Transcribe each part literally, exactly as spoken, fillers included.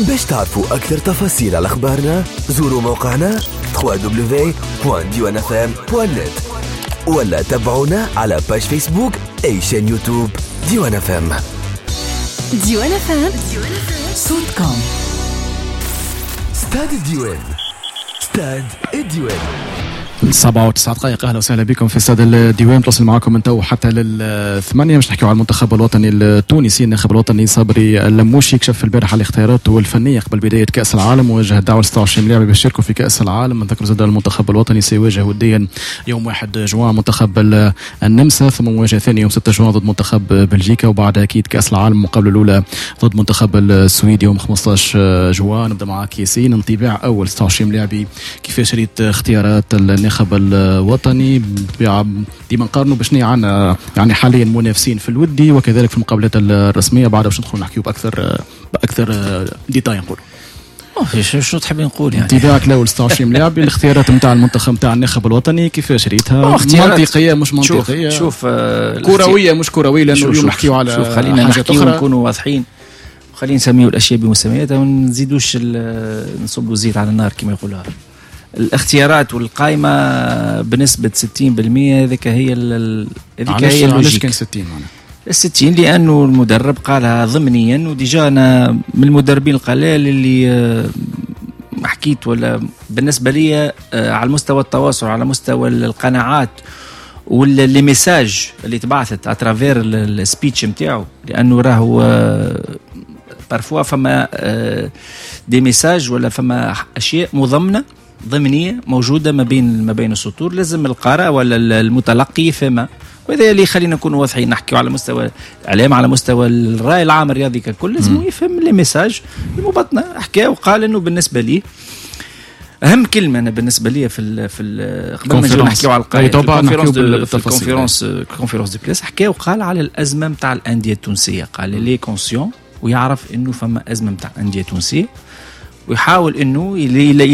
باش تعرفوا أكثر تفاصيل على أخبارنا زوروا موقعنا دبليو دبليو دبليو دوت ديوان اف ام دوت نت ولا تابعونا على page فيسبوك أي chaîne يوتيوب ديوان اف ام. ديوان اف ام صوتكم. استاد الديوان، استاد الديوان. سبعة وتسعة دقائق. اهلا وسهلا بكم في استاد الديوان، تواصل معكم من تو حتى للثمانية باش نحكيو على المنتخب الوطني التونسي. الناخب الوطني صبري اللموشي كشف البارحة الاختيارات الفنية قبل بداية كأس العالم، ووجه الدعوة ل ستة وعشرين لاعب باش يشاركوا في كأس العالم. نذكر زاد المنتخب الوطني سيواجه وديا يوم واحد جوان منتخب النمسا، ثم مواجهة ثانية يوم ستة جوان ضد منتخب بلجيكا، وبعد اكيد كأس العالم المقابلة الأولى ضد منتخب السويد يوم خمسة عشر جوان. نبدا معك ياسين، انطباع اول ستة وعشرين لاعب، كيفاش ريت اختيارات الناخب الوطني؟ بالطبيعة ديما نقارنوا باش عندنا يعني حاليا منافسين في الودي وكذلك في المقابلات الرسميه، بعد باش ندخلوا نحكيو باكثر باكثر détails نقولوا. شنو تحب نقول يعني؟ انطباعك الاول ستة وعشرين لاعب، الاختيارات نتاع المنتخب نتاع الناخب الوطني كيفاش ريتها؟ منطقية مش منطقية؟ شوف, شوف آه كروية مش كروية؟ لانه اليوم نحكيو على شوف، خلينا نحكيو ونكونوا واضحين، خلينا نسميو الاشياء بمسمياتها وما نزيدوش نصبوا زيت على النار كما يقولها. الاختيارات والقائمه بنسبة ستين بالمية هذيك هي، هذيك هي. علاش كان ستين معناها؟ ستين لانه المدرب قالها ضمنيا، و déjà انا من المدربين القلال اللي آه، حكيت ولا بالنسبة لي آه، على مستوى التواصل، على مستوى القناعات ولا les messages اللي تبعثت à travers ال speech نتاعو، لانه راهو parfois فما des messages ولا فما اشياء مضمنه ضمنيه موجودة ما بين ما بين السطور، لازم القارئ ولا المتلقي يفهمها. وهذا اللي خلينا نكونوا واضحين، نحكيو على مستوى الاعلام، على مستوى الراي العام الرياضي ككل، لازم يفهم les messages المبطنه. حكى وقال انه بالنسبة لي اهم كلمة انا بالنسبة لي في ال في ال قبل ما نجيو نحكيو على القائمه، في ال conférence conférence de presse حكى وقال على الازمة نتاع الاندية التونسيه. قال il est conscient ويعرف انه فما ازمة نتاع اندية تونسية ويحاول انه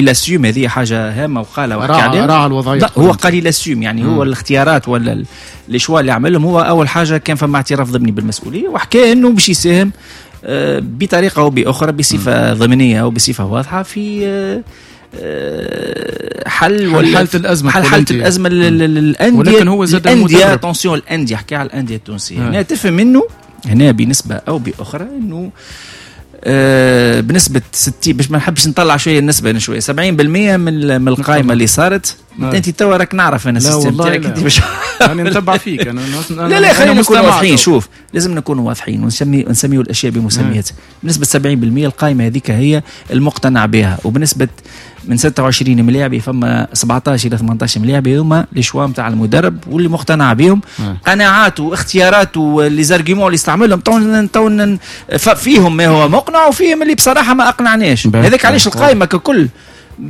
il assume، هذه حاجة هامة وقالها وحكى عليها. راعى الوضعيه. هو قال il assume، يعني هو الاختيارات ولا les choix اللي عملهم، هو اول حاجة كان فما اعتراف ضمني بالمسؤوليه، وحكى انه باش يساهم آه، بطريقة او باخرى، بصفة ضمنيه او بصفة واضحه، في آه، آه، حل ولا حاله الازمه. حل حاله الازمة للانديه. ولكن هو زاد الانديه، attention، الانديه، حكى على الاندية التونسيه. هنا تفهم منه هنا بنسبة او باخرى انه آه، بنسبة ستين، باش ما نحبش نطلع شوية النسبة انا شويه، سبعين بالمية من من القائمة اللي صارت. آه. انت توا راك نعرف انا ال système تاعك انت باش انا نتبع فيك انا. لا لا، خلينا نكونوا واضحين. شوف، لازم نكونوا واضحين ونسمي نسميو الاشياء بمسمياتها. بنسبة سبعين بالمية القائمة هذيك هي المقتنع بها، وبنسبة من ستة وعشرين ملاعبي فما سبعطاش الى ثمنطاش ملاعبي هما les choix نتاع المدرب واللي مقتنع بهم، قناعاته واختياراته، les arguments اللي استعملهم تو تو فيهم ما هو مقنع وفيهم اللي بصراحة ما اقنعناش. هذاك علاش القائمة ككل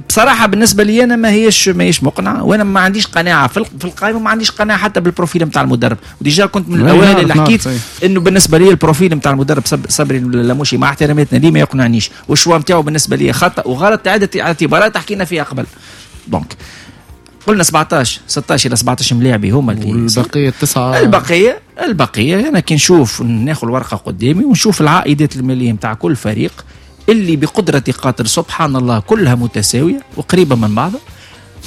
بصراحة بالنسبة لي انا ما هيش ما هيش مقنعه، وانا ما عنديش قناعة في في القائمه، ما عنديش قناعة حتى بال profil نتاع المدرب. و déjà كنت من الاوائل اللي حكيت انه بالنسبة لي ال profil نتاع المدرب صبري اللاموشي، مع احتراماتنا ليه، ما يقنعنيش، وال choix نتاعو بالنسبة لي خطا وغلط عده اعتبارات حكينا فيها قبل. donc قلنا سبعطاش، ستاش الى سبعطاش ملاعبي هما اللي البقية تسعه. البقيه البقيه انا كي نشوف، ناخذ الورقة قدامي ونشوف العائدات المالية نتاع كل فريق اللي بقدرة قادر سبحان الله كلها متساوية وقريبة من بعضها،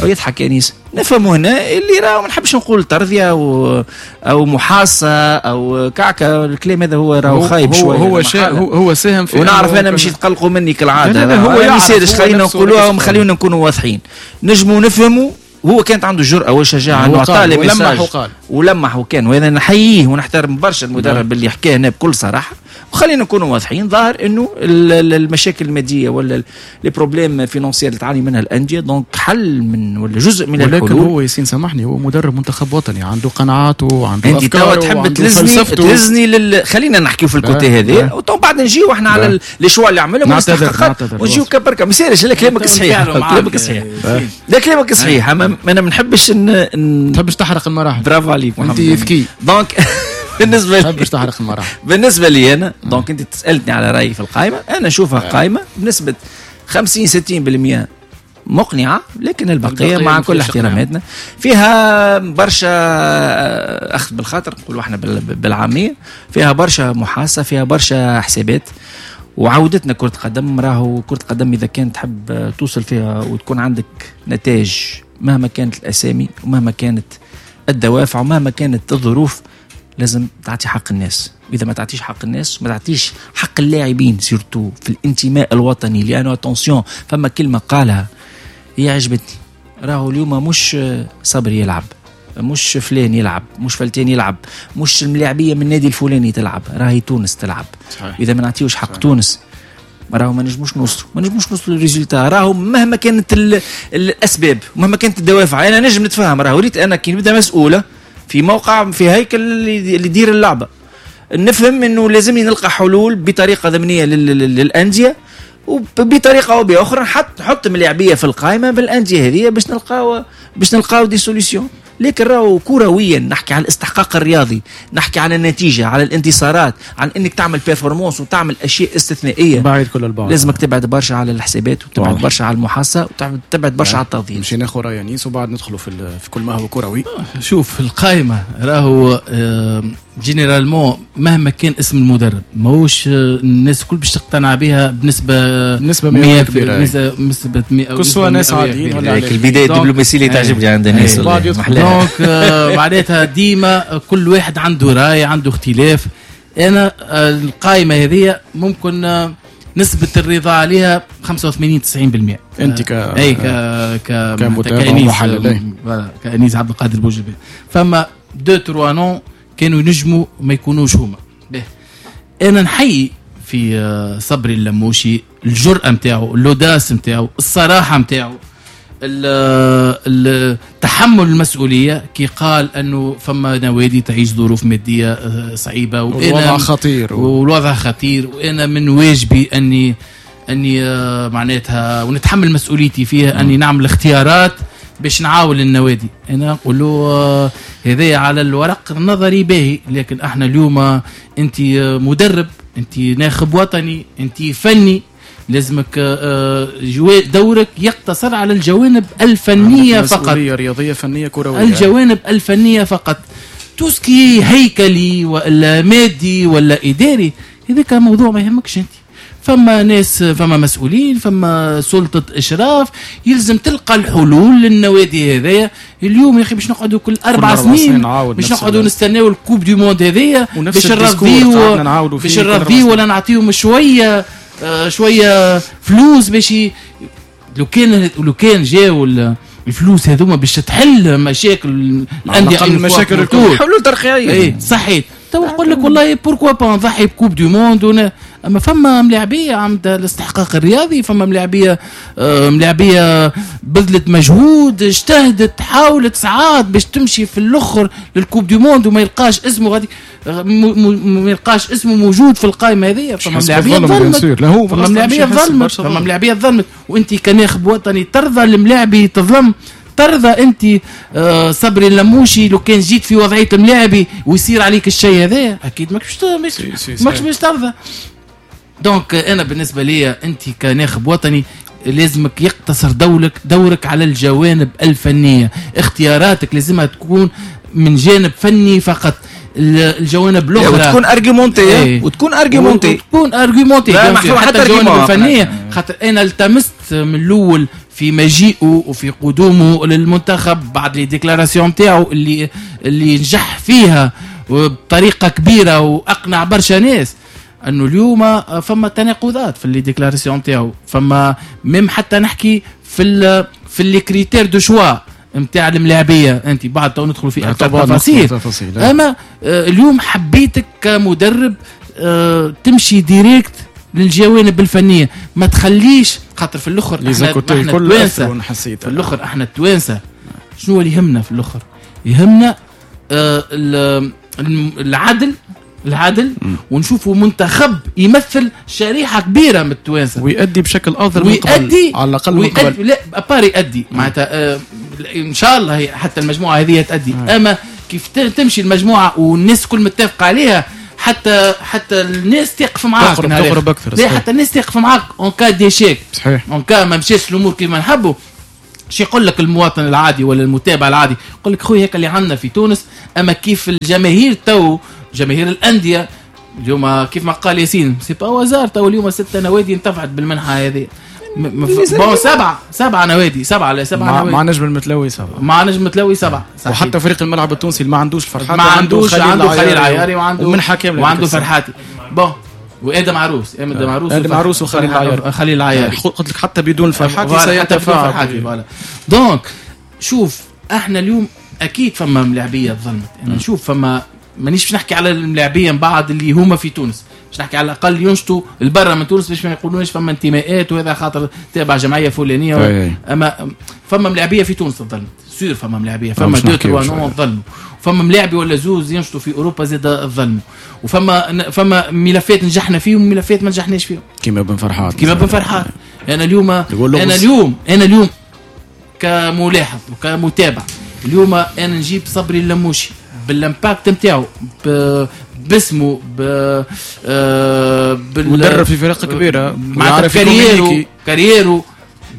ويضحك انيس، نفهم هنا اللي راه ما نحبش نقول ترضيه او او محاصه او كعكه، الكلام هذا هو راهو خايب شويه. هو هو هو ساهم في ونعرف انا مش يتقلقوا مني كالعاده. لا لا، هو يعرف، خلينا نقولوها وخلينا نكونوا واضحين، نجموا نفهموا هو كانت عنده الجرأة والشجاعة انه اعطى les messages وقال ولمح وكان، وهذا نحييه ونحترم برشا المدرب اللي حكاه هنا بكل صراحة. وخلينا نكونوا واضحين، ظاهر انه المشاكل المادية ولا les problèmes financiers اللي تعاني منها الاندية، donc حل من ولا جزء من ولكن الحلول. هو ياسين سامحني، هو مدرب منتخب وطني، عنده قناعاته وعنده انت توا تحب تلزني تلزني لل... خلينا نحكيو في ال côté هذا وتو بعد نجيو احنا على les choix اللي عملهم ونجيو كبركه. ما يصيرش. لا، كلامك صحيح، كلامك صحيح، لا كلامك صحيح، اما انا ما نحبش ن... تحبش تحرق المراحل. برافو عليك. انت ذكي. donc بالنسبة لي تحبش تحرق المراحل. بالنسبة لي انا، donc انت سالتني على رايي في القائمه، انا نشوفها قائمة بنسبة خمسين ستين بالمية مقنعه، لكن البقية، البقية مع كل احتراماتنا، فيها برشا اخذ بالخاطر، نقولوا احنا بالعاميه، فيها برشا محاسه، فيها برشا حسابات. وعودتنا كرة قدم. راهو كرة قدم إذا كانت تحب توصل فيها وتكون عندك نتائج مهما كانت الأسامي ومهما كانت الدوافع ومهما كانت الظروف، لازم تعطي حق الناس. إذا ما تعطيش حق الناس ما تعطيش حق اللاعبين surtout في الانتماء الوطني، لأنه attention فما كلمة قالها هي عجبتني، راهو اليوم مش صبري يلعب، مش فلان يلعب، مش فلتان يلعب، مش الملاعبية من النادي الفلاني تلعب، راهي تونس تلعب. صحيح. إذا ما نعطيوش حق صحيح. تونس راهو ما نجموش نوصلوا، ما نجموش نوصلوا لل résultat. راهو مهما كانت الأسباب مهما كانت الدوافع، أنا نجم نتفهم. راهو ريت أنا كي نبدأ مسؤولة في موقع في هيكل اللي يدير اللعبة، نفهم إنه لازمني نلقى حلول بطريقة ضمنية للأندية وبطريقة أو بأخرى نحط نحط ملاعبية في القائمة بالأندية هذه باش نلقاو باش نلقاو des solutions. لكن راهو كرويا نحكي على الاستحقاق الرياضي، نحكي على النتيجة، على الانتصارات، عن انك تعمل performance وتعمل اشياء استثنائية. بعيد كل البعد، لازمك تبعد برشا على الحسابات وتبعد برشا على المحاسبة وتبعد برشا على التفضيل. نمشي ناخذ راي انيس وبعد ندخلوا في في كل ما هو كروي. شوف القائمة راهو généralement مهما كان اسم المدرب ماهوش الناس الكل باش تقتنع بها بنسبة بنسبة مئة كبيرة، بنسبة مئة كسوا ناس عاديين ولا البداية الدبلوماسية اللي تعجبني عند الناس. donc معناتها ديما كل واحد عنده راي، عنده اختلاف. انا القائمة هذه ممكن نسبه الرضا عليها خمسة وثمانين تسعين بالمئة. انت ك اي ك ك كأنيس كأنيس عبد القادر بوجبي، فما deux trois noms كانوا ينجموا ما يكونوش هما. به انا نحيي في صبري اللموشي الجرأة نتاعو، l'audace نتاعو، الصراحة نتاعو، تحمل المسؤولية كي قال أنه فما نوادي تعيش ظروف مادية صعيبة والوضع خطير والوضع خطير، وأنا من واجبي أني أني معناتها ونتحمل مسؤوليتي فيها، أني نعمل اختيارات باش نعاون النوادي. أنا نقول له هذا على الورق النظري باهي، لكن احنا اليوم أنت مدرب، أنت ناخب وطني، أنت فني، لازمك دورك يقتصر على الجوانب الفنية فقط، رياضية فنية كروية، الجوانب الفنية فقط. tout ce qui هيكلي ولا مادي ولا إداري هذاك موضوع ما يهمكش أنت. فما ناس، فما مسؤولين، فما سلطة إشراف، يلزم تلقى الحلول للنوادي هذايا. اليوم يا أخي باش نقعدوا كل أربع سنين باش نقعدوا نستناو ال coupe du monde هذايا باش نرضيو باش نرضيو ولا نعطيهم شوية شوية فلوس باش ي... لو كان لو كان جاو الفلوس هذوما باش تحل مشاكل الاندية، المشاكل الكل حلول ترقيعيه. اي صحيت تو نقول لك والله pourquoi pas نضحي ب coupe du monde ون... اما فما ملاعبيه عندها الاستحقاق الرياضي، فما ملاعبيه ملاعبيه بذلت مجهود، اجتهدت، حاولت ساعات باش تمشي في الاخر لل coupe du monde وما يلقاش اسمه غادي، ما يلقاش اسمه موجود في القائمة هذه. فما ملاعبيه ظلمت، فما ملاعبيه ظلمت، فما ملاعبيه ظلمت. وانت كناخب وطني ترضى الملاعبي تظلم؟ ترضى انت صبري اللموشي لو كان جيت في وضعية الملاعبي ويصير عليك الشيء هذا؟ اكيد ماكش ماكش باش ترضى. donc انا بالنسبة لي انت كناخب وطني لازمك يقتصر دورك دورك على الجوانب الفنية، اختياراتك لازمها تكون من جانب فني فقط، الجوانب الاخرى وتكون argumentée. ايه. وتكون argumentée وتكون argumentée حتى الجوانب الفنية. خاطر انا التمست من الاول في مجيئه وفي قدومه للمنتخب بعد les déclarations تاعو اللي اللي نجح فيها بطريقة كبيرة واقنع برشا ناس، انه اليوم فما تناقضات في les déclarations تاعو، فما même حتى نحكي في ال في les critères de choix نتاع الملاعبيه. انت بعد تو ندخلوا في اكثر تفاصيل، اما اليوم حبيتك كمدرب تمشي direct للجوانب الفنية، ما تخليش خاطر في الاخر احنا التوانسة، في الاخر احنا التوانسة شنو اللي يهمنا في الاخر؟ يهمنا العدل، العدل، ونشوفوا منتخب يمثل شريحة كبيرة من التوانسة ويؤدي بشكل افضل من قبل، على الاقل من قبل. لا à part يؤدي معناتها آه ان شاء الله هي حتى المجموعة هذه تؤدي، اما كيف تمشي المجموعة والناس كل متفقه عليها، حتى حتى الناس تقف معاك، تقرب اكثر، لا حتى الناس تقف معاك en cas d'échec، صحيح، en cas ما مشاش الامور كيما نحبوا. شي يقول لك المواطن العادي ولا المتابع العادي؟ يقول لك خويا هيك اللي عندنا في تونس. اما كيف الجماهير تو، جماهير الاندية اليوم كيف ما قال ياسين c'est pas au hasard تو اليوم ستة نوادي انتفعت بالمنحه هذه. bon سبعة سبعة نوادي سبعة لا سبعة نوادي مع نجم المتلوي سبعة مع نجم المتلوي سبعة. وحتى فريق الملعب التونسي اللي ما عندوش فرحاتي ما عندوش عنده خليل عياري وعنده ومنحه كاملة وعنده فرحاتي bon وادم عروس ادم عروس ادم عروس وخليل العياري خليل العياري قلت لك حتى بدون فرحاتي سيتفاعل voilà. donc شوف احنا اليوم اكيد فما ملاعبيه ظلمت. انا نشوف فما مانيش باش نحكي على الملاعبيه من بعد اللي هما في تونس، باش نحكي على الاقل ينشطوا البرة من تونس باش ما يقولوناش فما انتماءات وهذا خاطر تابع جمعية فلانيه و... اما فما ملاعبيه في تونس تظلمت sûr، فما ملاعبيه فما deux trois noms ظلموا، فما ملاعبي ولا زوز ينشطوا في اوروبا زاد ظلموا، وفما فما ملفات نجحنا فيهم وملفات ما نجحناش فيهم كيما بن فرحات كيما بن فرحات. انا اليوم انا اليوم انا اليوم كملاحظ وكمتابع اليوم انا نجيب صبري اللموشي بال impact نتاعو باسمه ب بال مدرب في فرق كبيرة مع carrière و carrière و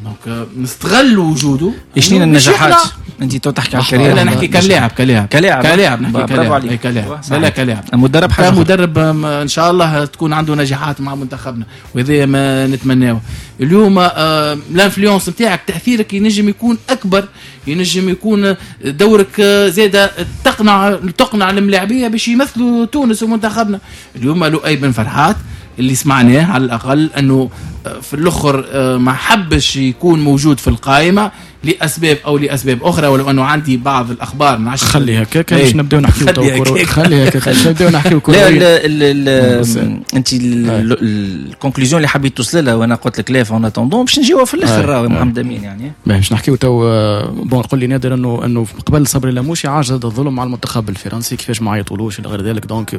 donc نستغل وجوده. شنو النجاحات انت تو تحكي على ال carrière؟ لا نحكي كلاعب كلاعب كلاعب كلاعب نحكي كلاعب كلاعب لا كلاعب مدرب حاجة مدرب ان شاء الله تكون عنده نجاحات مع منتخبنا وهذا ما نتمناه. اليوم ال influence نتاعك تاثيرك ينجم يكون اكبر، ينجم يكون دورك زاده تقنع تقنع الملاعبيه باش يمثلوا تونس ومنتخبنا. اليوم لؤي بن فرحات اللي سمعناه على الاقل انه في الاخر ما حبش يكون موجود في القائمة لاسباب او لاسباب اخرى، ولو انه عندي بعض الاخبار ما خلي هكاك باش نبداو نحكيو تو خلي هكاك باش نبداو نحكيو لا لا انت ال conclusion اللي حبيت توصل لها وانا قلت لك لا en attendant باش نجيوها في الاخر راهو محمد امين يعني باش نحكيو تو. bon قول لي نادر انه انه قبل صبري لاموشي عاش هذا الظلم مع المنتخب الفرنسي كيفاش ما عيطولوش الى غير ذلك، donc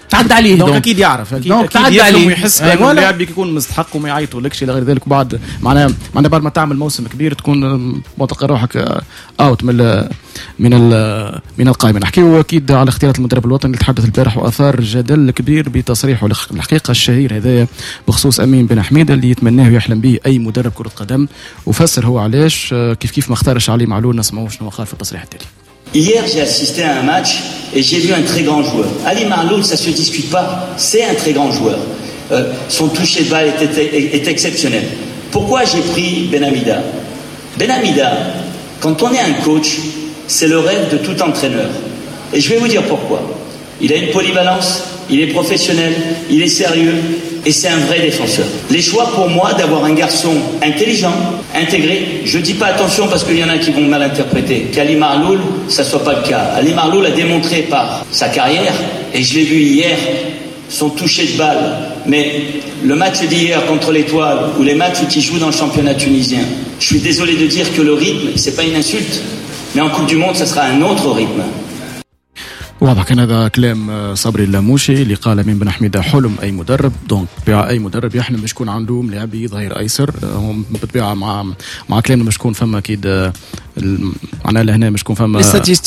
تعدى عليه donc اكيد يعرف اكيد, أكيد يفهم ويحس بانه اللاعب يكون مستحق وما يعيطولكش الى غير ذلك. وبعد معناها معناها بعد ما تعمل موسم كبير تكون تلقى روحك out من ال من ال من القائمة. نحكيو اكيد على اختيارات المدرب الوطني اللي تحدث البارح واثار جدل كبير بتصريحه الحقيقة الشهير هذايا بخصوص امين بن حميده اللي يتمناه ويحلم به اي مدرب كره قدم، وفسر هو علاش كيف كيف ما اختارش علي معلول. نسمعوا شنو قال في التصريح التالي. Hier, j'ai assisté à un match et j'ai vu un très grand joueur. Ali Maâloul, ça se discute pas, c'est un très grand joueur. Euh, son toucher de balle est, est, est exceptionnel. Pourquoi j'ai pris Ben Hamida ? Ben Hamida, quand on est un coach, c'est le rêve de tout entraîneur. Et je vais vous dire pourquoi. Il a une polyvalence, il est professionnel, il est sérieux et c'est un vrai défenseur. Les choix pour moi d'avoir un garçon intelligent, intégré, je dis pas attention parce qu'il y en a qui vont mal interpréter, qu'Ali Maâloul, ça soit pas le cas. Ali Maâloul a démontré par sa carrière, et je l'ai vu hier, son toucher de balle, mais le match d'hier contre l'Étoile ou les matchs où il joue dans le championnat tunisien, je suis désolé de dire que le rythme, c'est pas une insulte, mais en Coupe du Monde, ça sera un autre rythme. واضح كان هذا كلام صبري اللاموشي اللي قال امين بن حميده حلم اي مدرب، donc اي مدرب يحلم باش يكون عنده ملاعبي ظهير ايسر. هم بالطبيعة مع مع كلامنا باش يكون فما اكيد معناها لهنا باش يكون فما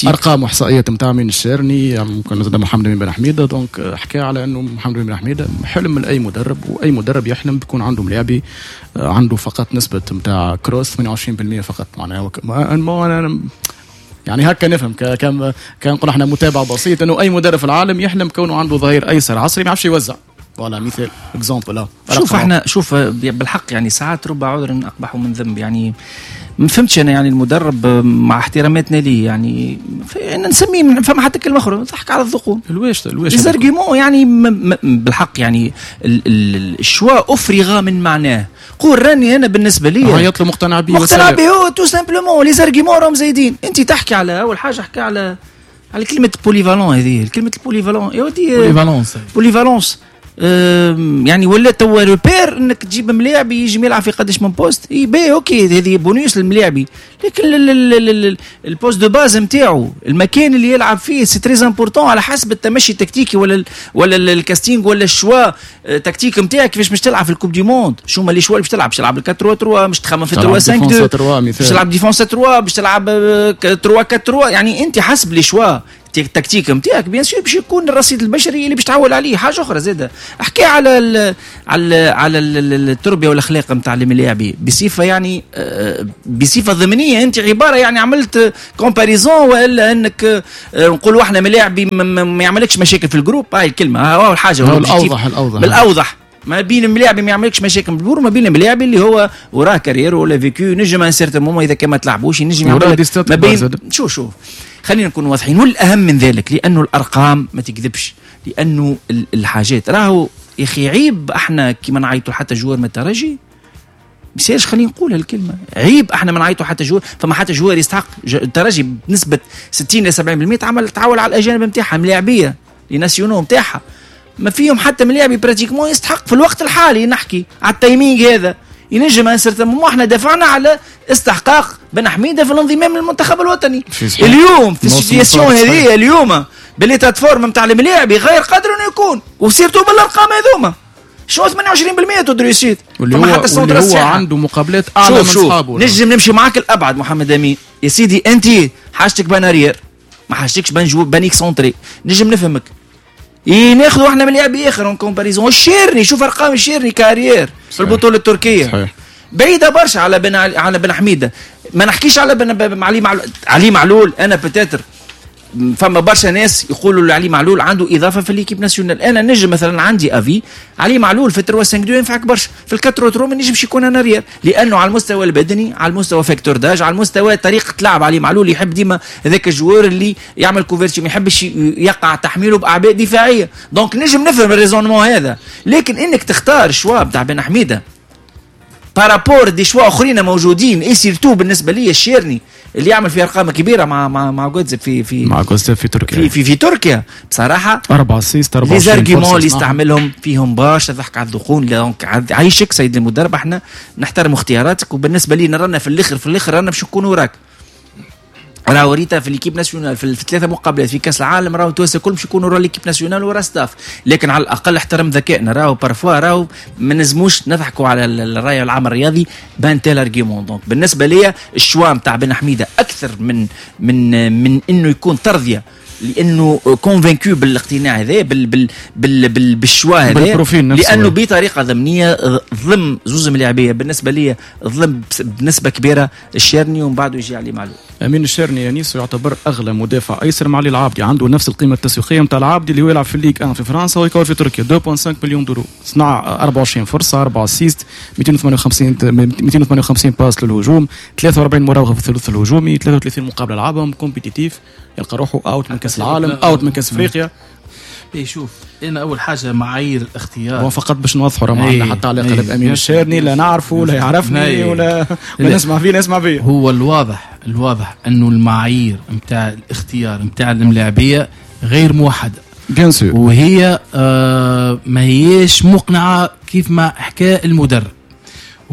ارقام واحصائيات نتاع من الشارني ممكن زاد محمد بن حميده. donc حكى على انه محمد بن حميده حلم لاي مدرب، واي مدرب يحلم بيكون عنده ملاعبي عنده فقط نسبه نتاع cross ثمانية وعشرين بالمئة فقط. معناها ما يعني هكا نفهم كان كان نقول احنا متابع بسيط انه اي مدرب في العالم يحلم كونه عنده ظهير ايسر عصري ما يعرفش يوزع. voilà مثال exemple. شوف احنا شوف بالحق يعني ساعات رب عذر اقبح من ذنب. يعني ما فهمتش انا يعني المدرب مع احتراماتنا ليه يعني نسميه فما حتى كلمة اخرى ضحك على الذقون. الواش الواش les arguments يعني بالحق يعني ال choix افرغ من معناه. قول راني انا بالنسبة لي عيط له مقتنع به مقتنع به هو tout simplement les arguments راهم زايدين. انت تحكي على اول حاجة حكى على على كلمة polyvalent، هذه كلمة ال polyvalent يا ودي polyvalence polyvalence يعني ولا توا repère انك تجيب ملاعبي يجي يلعب في قداش من poste اي باهي OK هذه بونيس للملاعبي، لكن ال poste de base نتاعو المكان اللي يلعب فيه c'est très important على حسب التمشي التكتيكي ولا ال ولا ال casting ولا ال choix tactique نتاعك كيفاش باش تلعب في ال Coupe du Monde. شو هما les choix اللي باش تلعب؟ باش تلعب أربعة ثلاثة، باش تخمم في ثلاثة خمسة اثنين، باش تلعب défense ثلاثة، باش تلعب ثلاثة أربعة ثلاثة. يعني انت حسب les choix التكتيك نتاعك bien sûr باش يكون الرصيد البشري اللي باش تعول عليه. حاجة اخرى زاده احكي على ال على ال على التربية والاخلاق نتاع الملاعبي بصفة يعني بصفة ضمنيه. انت عبارة يعني عملت comparaison والا انك نقولوا احنا ملاعبي ما يعملكش مشاكل في ال groupe، هاي الكلمة هاو الحاجة الاوضح الاوضح بالاوضح ما بين الملاعب ما يعملكش مشاكل بالبور وما بين الملاعب اللي هو وراه carrière ولا vécu نجم un certain moment اذا كان ما تلعبوش ينجم يعمل ما بين. شو شوف خلينا نكون واضحين، والاهم من ذلك لانه الارقام ما تكذبش، لانه الحاجات راهو يا اخي عيب احنا كيما نعيطوا حتى joueur من الترجي مسالش، خلينا نقول هالكلمة عيب احنا ما نعيطوا حتى joueur، فما حتى joueur يستحق الترجي بنسبة ستين ل سبعين بالمية تعمل تعول على الاجانب نتاعها ملاعبيه les nationaux نتاعها ما فيهم حتى ملاعبي pratiquement يستحق في الوقت الحالي. نحكي على ال timing هذا ينجم un certain moment احنا دافعنا على استحقاق بن حميده في الانضمام للمنتخب الوطني. اليوم في ال situation هذه اليوم ب l'état de forme نتاع الملاعبي غير قادر انه يكون، و surtout بالارقام هذوما شنو ثمانية وعشرين بالمية taux de réussite، واللي هو, واللي هو عنده مقابلات اعلى من اصحابه. نجم نمشي معاك الابعد محمد امين يا سيدي، انت حاجتك ب un arrière ما حاجتكش ب un joueur ب un excentré، نجم نفهمك. إيه ناخذوا احنا من لاعب اخر en comparaison الشيرني، شوف ارقام الشيرني ك arrière في البطولة التركية صحيح. بعيدة برشا على بن على بن حميده، ما نحكيش على بن علي معلول. علي معلول انا peut-être فما برشا ناس يقولوا علي معلول عنده اضافه في l'équipe nationale، انا نجم مثلا عندي avis علي معلول في ثلاثة خمسة اثنين ينفعك برشا، في أربعة ثلاثة ما نجمش يكون un arrière، لانه على المستوى البدني، على المستوى facteur d'âge، على المستوى طريقه لعب علي معلول يحب ديما هذاك ال joueur اللي يعمل couverture، ما يحبش يقع تحميله باعباء دفاعية، donc نجم نفهم ال raisonnement هذا. لكن انك تختار choix بتاع بن حميده par rapport des choix اخرين موجودين، et surtout بالنسبة لي الشيرني اللي يعمل في ارقام كبيرة مع مع مع جوتزب في في مع جوتزب في تركيا في في, في تركيا بصراحة أربعة assists أربعة les arguments اللي استعملهم فيهم برشا ضحك على الذقون. donc عايشك سيد المدرب، احنا نحترم اختياراتك، وبالنسبة لي رانا في الاخر في الاخر رانا باش نكونوا وراك. راهو ريتا في l'équipe nationale في الثلاثة مقابلات في كاس العالم راهو التوانسة الكل باش يكونوا ورا l'équipe nationale ورا staff، لكن على الاقل احترم ذكائنا. راهو parfois راهو ما نزموش نضحكوا على الراي العام الرياضي ب un tel argument. donc بالنسبة لي ال choix نتاع بن حميده اكثر من من من انه يكون ترضيه، لانه convaincu بالاقتناع هذا بال بال بال بال بال choix هذا، لانه بطريقة ضمنيه ظلم زوز ملاعبيه بالنسبة لي، ظلم بنسبة كبيرة الشيرني ومن بعده يجي علي معلول. امين الشيرني يانيس يعتبر اغلى مدافع ايسر مع علي العابدي، عنده نفس القيمة التسويقية نتاع العابدي اللي هو يلعب في ال Ligue واحد في فرنسا ويكور في تركيا، اثنين فاصلة خمسة مليون دورو، صنع أربعة وعشرين فرصة، أربعة assists، مئتين وثمانية وخمسين مئتين وثمانية وخمسين passe للهجوم، ثلاثة وأربعين مراوغه في الثلث الهجومي، ثلاثة وثلاثين مقابله لعبهم، compétitif، يلقى روحه out من كاس العالم، out من كاس افريقيا. اي شوف انا اول حاجة معايير الاختيار هو فقط باش نوضحوا راه ما عندنا حتى علاقة لا بامين الشيرني، لا نعرفه لا يعرفني ولا ولا نسمع فيه لا نسمع فيه. هو الواضح الواضح انه المعايير نتاع الاختيار نتاع الملاعبيه غير موحدة bien sûr، وهي آه ما هيش مقنعة كيف ما حكى المدرب.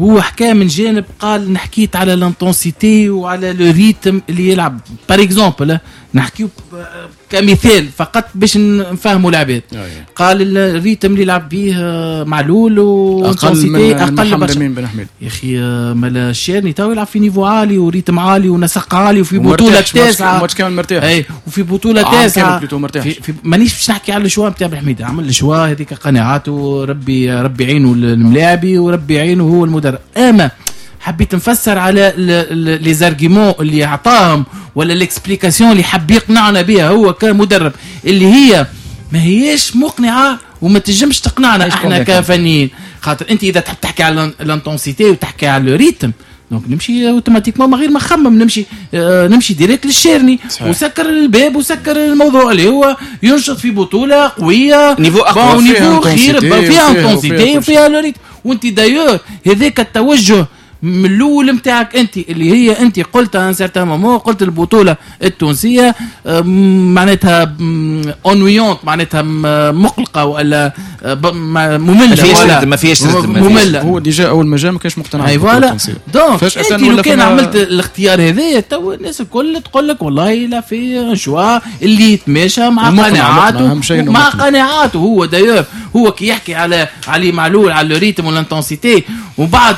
هو حكى من جانب قال نحكيت على l'intensité وعلى le rythme اللي يلعب par exemple، نحكيو كمثال فقط باش نفهموا العباد. قال ال rythme اللي يلعب به معلول و اقل اقل برشا من بن حميد. يا اخي مالا الشيرني تو يلعب في niveau عالي و rythme عالي ونسق عالي وفي بطوله تاسعه، ماتش كامل مرتاح، اي وفي بطوله تاسعه في في مانيش باش نحكي على ال choix نتاع بن حميد، عمل ال choix هذيك قناعاته، ربي ربي يعينه الملاعبي وربي يعينه هو المدرب. اما حبيت نفسر على les arguments اللي عطاهم ولا l'explication اللي حب يقنعنا بها هو كمدرب، اللي هي ما هيش مقنعة وما تنجمش تقنعنا احنا كفنيين. خاطر انت اذا تحب تحكي على l'intensité وتحكي على le rythme، donc نمشي automatiquement من غير ما نخمم، نمشي آه نمشي direct للشيرني وسكر الباب وسكر الموضوع اللي هو ينشط في بطوله قوية niveau اقوى، niveau خير، فيها intensité وفيها le rythme. وانت d'ailleurs هذاك التوجه من الاول نتاعك انت اللي هي انت قلتها un certain moment، قلت البطولة التونسية معناتها ennuyante، معناتها مقلقة ولا مملة، ولا ما فيهاش مملة. هو déjà اول ما جا ما كانش مقتنع بالبطولة التونسية، donc انت لو كان عملت الاختيار هذايا تو الناس الكل تقول لك والله لا في choix اللي يتماشى مع قناعاته، مع قناعاته هو. d'ailleurs هو كي يحكي على علي معلول على ال rythme وال intensité وبعد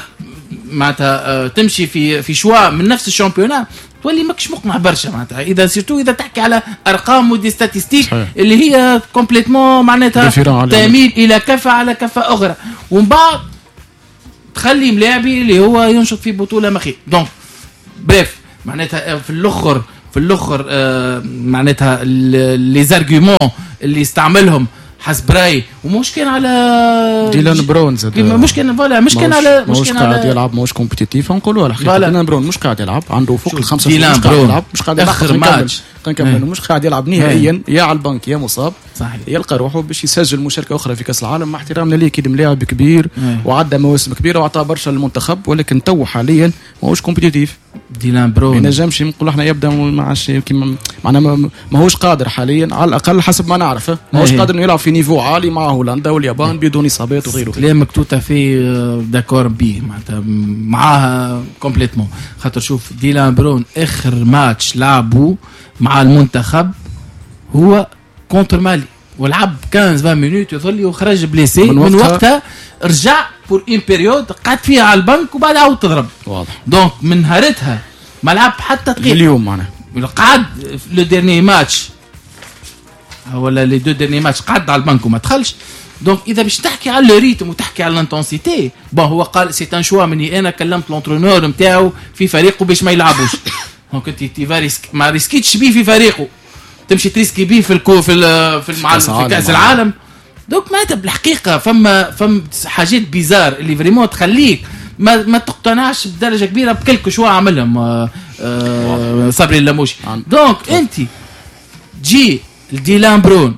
معناتها تمشي في في choix من نفس ال championnat، تولي ماكش مقنع برشا معناتها، اذا surtout اذا تحكي على ارقام و des statistiques اللي هي complètement معناتها تميل الى كفه على كفه اخرى، ومن بعد تخلي ملاعبي اللي هو ينشط في بطوله مخي. donc bref معناتها في الاخر في الاخر آه معناتها les arguments اللي استعملهم حسب رايي، ومش كان على ديلان برون زاد، مش كان voilà مش كان على مش كان قاعد يلعب، ماهوش compétitif نقولوها الحقيقة. ديلان برون مش قاعد يلعب، عنده فوق الخمسة مش قاعد يلعب، مش قاعد يلعب اخر ماتش نكمل، مش قاعد يلعب نهائيا، يا على البنك يا مصاب. صحيح. يلقى روحه باش يسجل مشاركة اخرى في كاس العالم، مع احترامنا ليه كي ملاعب كبير وعدى مواسم كبيرة وعطى برشا للمنتخب، ولكن تو حاليا ماهوش compétitif. ديلان برون ما ينجمش نقول احنا يبدا ما عادش كيما معناها ماهوش قادر حاليا على الاقل حسب ما نعرف، ماهوش قادر انه يلعب في niveau عالي مع هولندا واليابان بدون اصابات وغيره. كلامك tout à fait d'accord بيه معناتها معاها complètement، خاطر شوف ديلان برون اخر ماتش لعبه مع المنتخب هو contre مالي، ولعب خمسة عشر minutes يظل وخرج blessé، من وقتها, من وقتها رجع pour une période قعد فيها على البنك وبعد عاود تضرب. واضح. donc من نهارتها ما لعب حتى دقيقة اليوم معناها قعد le dernier match ولا les deux derniers matchs قعد على البنك وما دخلش. donc اذا باش تحكي على le rythme وتحكي على l'intensité، bon هو قال c'est un choix مني انا، كلمت l'entraîneur نتاعو في فريقه باش ما يلعبوش. donc انت tu risques ما ريسكيتش بيه في فريقه، تمشي تريسكي بيه في الكو في ال في, المع... في كاس العالم. donc معناتها بالحقيقة فما فما حاجات bizarres اللي vraiment تخليك ما ما تقتنعش بدرجة كبيرة ب quelques choix عملهم آه آه صبري اللموشي. donc انت تجي لديلان برون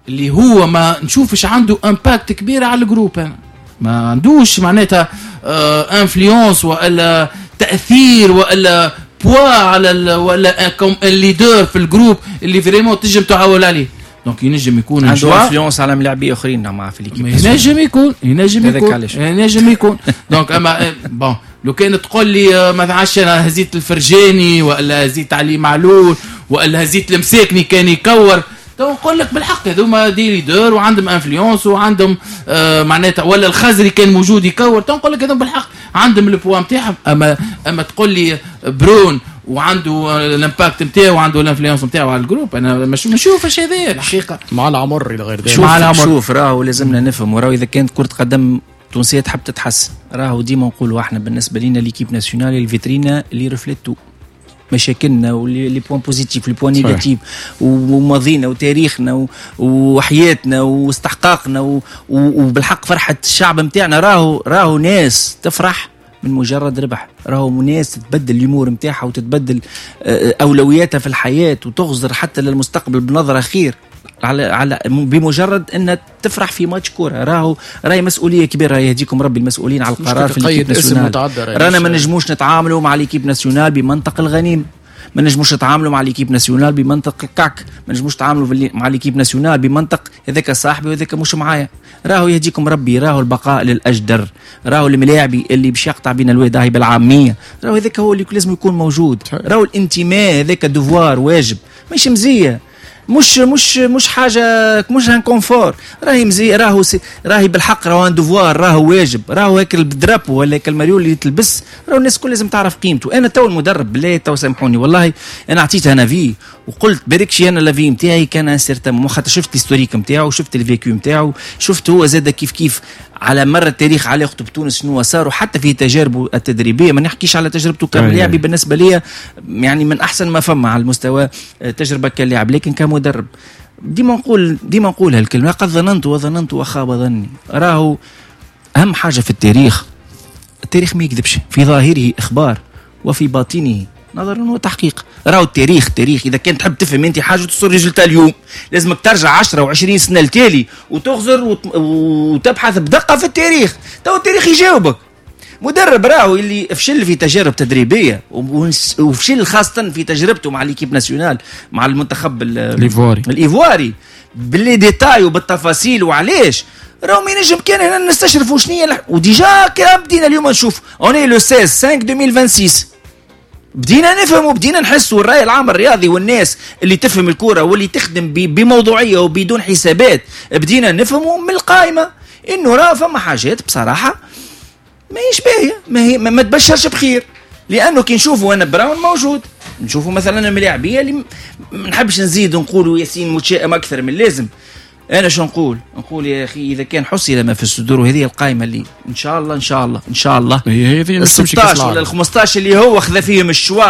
اللي هو ما نشوفش عنده impact كبير على ال groupe، انا ما عندوش معناتها آه influence والا تاثير والا poids على ال ولا comme leader في ال groupe اللي vraiment تنجم تعول عليه. donc ينجم يكون عنده influence على ملاعبيه اخرين مع في l'équipe، ينجم يكون ينجم يكون ينجم يكون. donc اما bon لو كان تقول لي ما عادش انا هزيت الفرجاني ولا هزيت علي معلول ولا هزيت المساكني كان يكور، تو نقول لك بالحق هذوما des leaders وعندهم influence وعندهم آه معناتها، ولا الخزري كان موجود يكور، تو نقول لك هذوما بالحق عندهم ال poids نتاعهم. اما اما تقول لي برون وعنده ال impact نتاعو وعنده ال influence نتاعو على ال groupe، انا مش نشوفش هذا الحقيقة مع العمر الى غير ذلك. مع العمر شوف راهو لازمنا نفهم، وراهو اذا كانت كره قدم تونسية تحب تتحسن، راهو ديما نقولوا احنا بالنسبة لنا l'équipe nationale الفيترينا اللي reflète tout مشاكلنا و les points positifs les points négatifs وماضينا وتاريخنا وحياتنا واستحقاقنا وبالحق فرحه الشعب نتاعنا. راهو راهو ناس تفرح من مجرد ربح، راهو ناس تتبدل الامور نتاعها وتتبدل اولوياتها في الحياة وتغزر حتى للمستقبل بنظره خير على على بمجرد ان تفرح في ماتش كورة. راهو راهي مسؤولية كبيرة، يهديكم ربي المسؤولين على القرار في l'équipe nationale. رانا ما نجموش نتعاملوا مع l'équipe nationale بمنطق الغنيم، ما نجموش نتعاملوا مع l'équipe nationale بمنطق الكعك، ما نجموش نتعاملوا مع l'équipe nationale بمنطق هذاك صاحبي وهذاك مش معايا. راهو يهديكم ربي، راهو البقاء للاجدر، راهو الملاعبي اللي باش يقطع بين الواد راهي بالعامية، راهو هذاك هو اللي لازم يكون موجود. راهو الانتماء هذاك devoir واجب، مش مزية، مش مش مش حاجة، مش un confort، راهي مزي، راهو راهي بالحق، راهو un devoir، راهو واجب، راهو هيك ال drapeau ولا هيك المريول اللي تلبس، راهو الناس الكل لازم تعرف قيمته. انا تو المدرب بالله تو سامحوني والله انا عطيته un avis وقلت بركشي انا l'avis نتاعي كان un certain، خاطر شفت l'historique نتاعو، شفت ال vécu نتاعو، شفت هو زاد كيف كيف على مر التاريخ علاقته بتونس شنو صار، وحتى في تجاربه التدريبية. ما نحكيش على تجربته كلاعب، بالنسبة لي يعني من احسن ما فما على المستوى تجربه كلاعب، لكن كمدرب ديما نقول ديما نقول هالكلمة، قد ظننت وظننت وخاب ظني. راهو اهم حاجة في التاريخ، التاريخ ما يكذبش، في ظاهره اخبار وفي باطنه نظر وتحقيق. راهو التاريخ تاريخ، اذا كان تحب تفهم انت حاجة توصل résultat اليوم لازمك ترجع عشرة وعشرين سنة لتالي وتغزر وت... وتبحث بدقة في التاريخ، تو التاريخ يجاوبك. مدرب راهو اللي فشل في تجارب تدريبية وفشل خاصة في تجربته مع l'équipe nationale مع المنتخب الايفواري الايفواري ب les détails وبالتفاصيل وعلاش، راهو ما ينجم كان هنا نستشرفوا شنو. و déjà كان بدينا اليوم نشوف on est le ستة عشر خمسة ألفين وستة وعشرين، بدينا نفهم وبدينا نحس، والرأي العام الرياضي والناس اللي تفهم الكرة واللي تخدم بموضوعية وبدون حسابات بدينا نفهموا من القائمة انه راه فما حاجات بصراحة ما هيش باهية، ما هي ما تبشرش بخير. لانه كي نشوفوا انا براون موجود، نشوفوا مثلا الملاعبيه اللي ما نحبش نزيد نقولوا ياسين متشائم اكثر من اللازم. انا شو نقول؟ نقول يا اخي اذا كان حصل ما في الصدور، وهذه القائمة اللي ان شاء الله ان شاء الله ان شاء الله هي هذه ال ستة عشر ولا ال خمسطاش اللي هو خذا فيهم ال choix،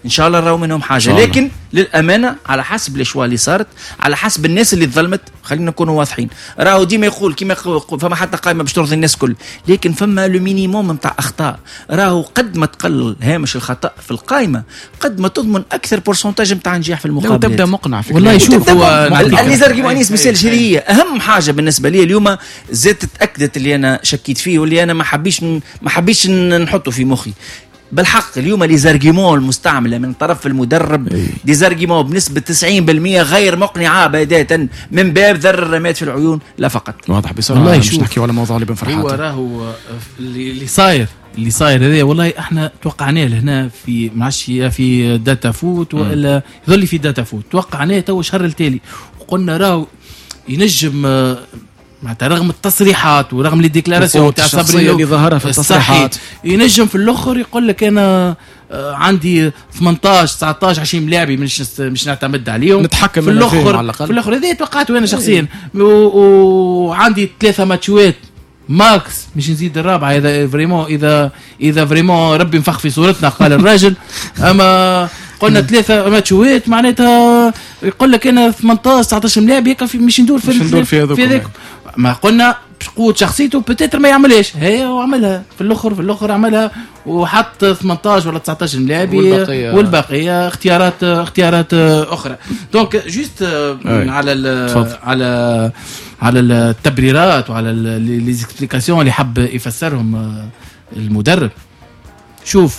ان شاء الله راهو منهم حاجة. لكن للامانة على حسب les choix اللي صارت، على حسب الناس اللي تظلمت، خلينا نكونوا واضحين، راهو ديما يقول كيما فما حتى قائمة باش ترضي الناس الكل، لكن فما le minimum نتاع اخطاء. راهو قد ما تقلل هامش الخطا في القائمة قد ما تضمن اكثر pourcentage نتاع نجاح في المقابلات. تبدا مقنع في والله شوف هو les arguments انيس مثال، هي اهم حاجة بالنسبة لي اليوم زادت تاكدت اللي انا شكيت فيه واللي انا ما حبيش ما حبيتش نحطه في مخي. بالحق اليوم les arguments المستعملة من طرف المدرب des arguments بنسبة تسعين بالمية غير مقنعة بداية، من باب ذر الرماد في العيون لا فقط. واضح. بسرعة والله مش نحكي على موضوع لوؤي بن فرحات. هو راهو اللي صاير اللي صاير هذا والله احنا توقعناه لهنا في ما عادش في داتا فوت والا يظل في داتا فوت، توقعناه تو شهر التالي وقلنا راهو ينجم معناتها رغم التصريحات ورغم les déclarations تاع صبري اللي ظهرها في التصريحات، ينجم في الاخر يقول لك انا آه، عندي ثمنطاش تسعطاش عشرين ملاعبي مش مش نعتمد عليهم. نتحكم في الاخر في الاخر هذه توقعته انا شخصيا، وعندي ثلاثة ماتشوات max مش نزيد الرابعة اذا vraiment اذا اذا vraiment ربي نفخ في صورتنا، قال الراجل. اما قلنا ثلاثة ماتشوات، معناتها يقول لك انا ثمنطاش تسعطاش ملاعب يكفي، مش ندور في مش ندور في هذوك. في ما قلنا بقوة شخصيته peut-être ما يعملهاش، هي وعملها في الاخر في الاخر عملها وحط ثمنطاش ولا تسعطاش ملاعب والبقية والبقية اختيارات اختيارات اخرى. donc juste على على على التبريرات وعلى les explications اللي حب يفسرهم المدرب، شوف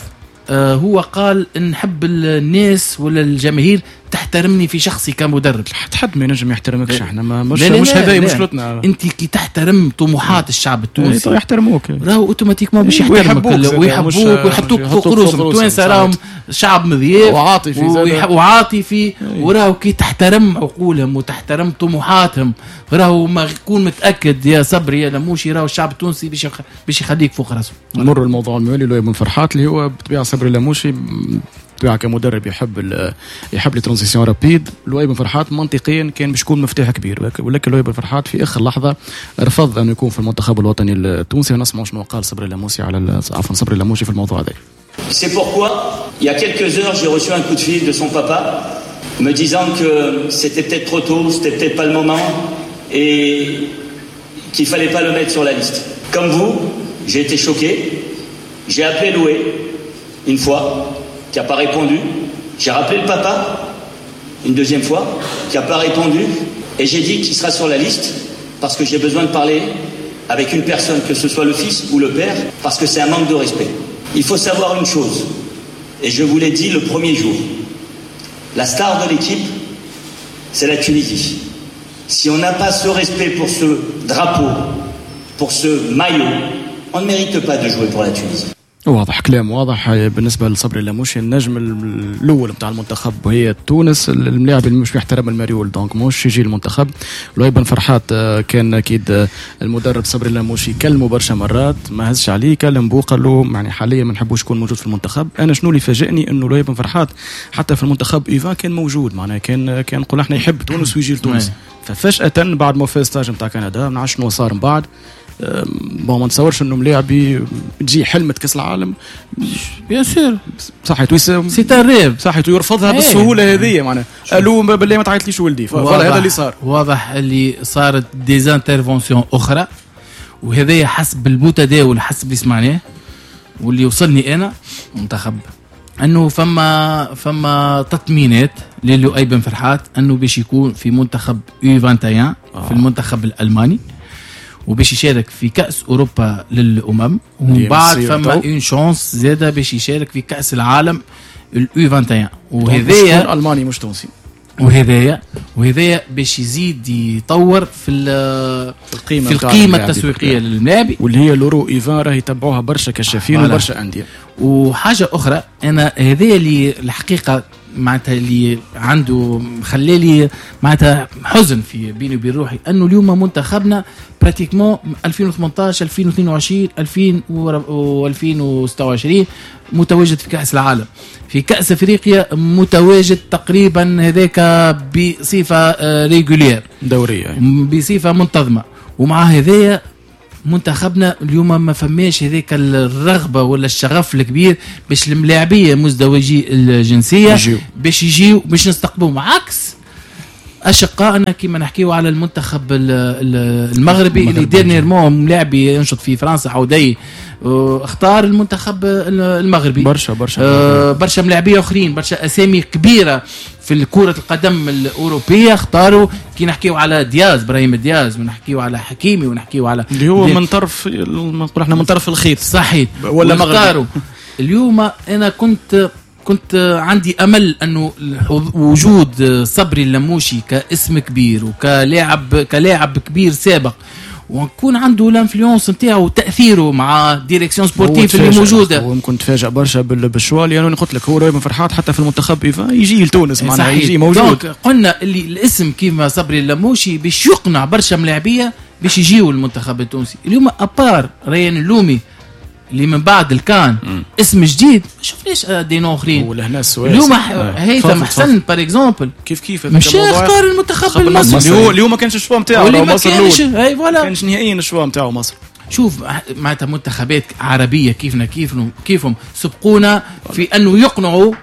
آه، هو قال نحب الناس ولا الجماهير تحترمني في شخصي كمدرب. حتى حد ما ينجم يحترمكش، احنا ما مش لا لا مش هذا مشكلتنا. انت كي تحترم طموحات الشعب التونسي إيه، يحترموك. راهو automatiquement باش يحترمك ويحبوك ويحطوك فوق رؤوسهم. التوانسة راهم شعب مضياف وعاطفي. وعاطفي إيه. وراهو كي تحترم عقولهم وتحترم طموحاتهم راهو ما يكون متاكد يا صبري يا لموشي راهو الشعب التونسي باش باش يخليك فوق راسه. نمر الموضوع الموالي، لؤي بن فرحات، اللي هو بالطبيعة صبري لموشي بالطبيعة كمدرب يحب يحب les transitions rapides. لؤي بن فرحات منطقيا كان باش يكون مفتاح كبير، ولكن لؤي بن فرحات في اخر لحظة رفض انه يكون في المنتخب الوطني التونسي. ونسمع شنو قال صبري لموسي على عفوا صبري لموشي في الموضوع هذا. C'est pourquoi, il y a quelques heures, j'ai reçu un coup de fil de son papa me disant que c'était peut-être trop tôt, c'était peut-être pas le moment et qu'il fallait pas le mettre sur la liste. Comme vous, j'ai été choqué. J'ai appelé Loué une fois, qui n'a pas répondu. J'ai rappelé le papa une deuxième fois, qui n'a pas répondu. Et j'ai dit qu'il sera sur la liste parce que j'ai besoin de parler avec une personne, que ce soit le fils ou le père, parce que c'est un manque de respect. Il faut savoir une chose, et je vous l'ai dit le premier jour, la star de l'équipe, c'est la Tunisie. Si on n'a pas ce respect pour ce drapeau, pour ce maillot, on ne mérite pas de jouer pour la Tunisie. واضح، كلام واضح بالنسبة لصبري لاموشي. النجم الاول نتاع المنتخب وهي تونس، الملاعب اللي مش يحترم الماريول donc مش يجي المنتخب. لؤي بن فرحات آه، كان اكيد آه، المدرب صبري لاموشي كلمة برشا مرات ما هزش عليه، كلم بو قال له يعني حاليا ما نحبوش يكون موجود في المنتخب. انا شنو اللي فاجئني انه لؤي بن فرحات حتى في المنتخب U vingt كان موجود، معناها كان كان نقول احنا يحب تونس ويجي لتونس. ففجاه بعد ما فاز stage نتاع كندا ما نعرفش شنو صار من بعد. bon ما نتصورش انه ملاعبي تجي حلمة كاس العالم bien sûr صحيح c'est un rêve. صحيح يرفضها إيه. بالسهولة هذه، معناها الو بالله ما تعيطليش ولدي، voilà هذا اللي صار. واضح اللي صارت des interventions اخرى، وهذا حسب المتداول، حسب اللي سمعناه واللي وصلني انا منتخب انه فما فما تطمينات للؤي بن فرحات انه باش يكون في منتخب U واحد وعشرين آه. في المنتخب الالماني وباش يشارك في كاس اوروبا للامم، ومن بعد فما une chance زاده باش يشارك في كاس العالم ال U واحد وعشرين. وهذايا الماني مش تونسي. وهذايا وهذايا باش يزيد يطور في القيمة في القيمة التسويقية للاعب. واللي هي l'Euro U vingt راه يتبعوها برشا كشافين وبرشا انديه. وحاجه اخرى، انا هذايا اللي الحقيقة معناتها اللي عنده خلالي معناتها حزن في بيني وبين روحي، انه اليوم منتخبنا pratiquement ألفين وثمنطاش ألفين واثنين وعشرين ألفين وستة وعشرين متواجد في كأس العالم، في كأس افريقيا متواجد تقريبا هذاك بصفة régulière دورية بصفة منتظمة، ومع هذايا منتخبنا اليوم ما فماش هذيك الرغبة ولا الشغف الكبير باش الملاعبيه مزدوجي الجنسية باش يجيو باش نستقبلهم، عكس اشقائنا كما نحكيو على المنتخب المغربي اللي dernièrement ملاعبي ينشط في فرنسا عودي اختار المنتخب المغربي، برشا برشا برشا ملاعبيه اخرين، برشا اسامي كبيرة في كرة القدم الأوروبية اختاروا. كي نحكيو على دياز، إبراهيم دياز، ونحكيو على حكيمي، ونحكيو على اللي هو من طرف نقول احنا من طرف الخيط صحيح ولا مغربي. اليوم أنا كنت كنت عندي أمل أنه وجود صبري اللموشي كاسم كبير وكلاعب كلاعب كبير سابق ونكون عنده l'influence نتاعو وتاثيره مع direction sportive اللي موجودة. هو ممكن تفاجئ برشا بال choix، لانه قلت لك هو ربما فرحات حتى في المنتخب يجي لتونس معناها يجي موجود. قلنا اللي الاسم كيما صبري اللموشي باش يقنع برشا ملاعبيه باش يجيو المنتخب التونسي. اليوم à part ريان اللومي اللي من بعد الكان م. اسم جديد ما شفناش des noms اخرين. ولهنا السؤال اليوم هيثم حسن par exemple كيف كيف مش اختار المنتخب المصري اليوم ما كانش ال choix نتاعو مصر الاول، اي voilà كانش نهائيا ال choix نتاعو مصر. شوف معناتها منتخبات عربية كيفنا كيفهم كيفهم سبقونا في انه يقنعوا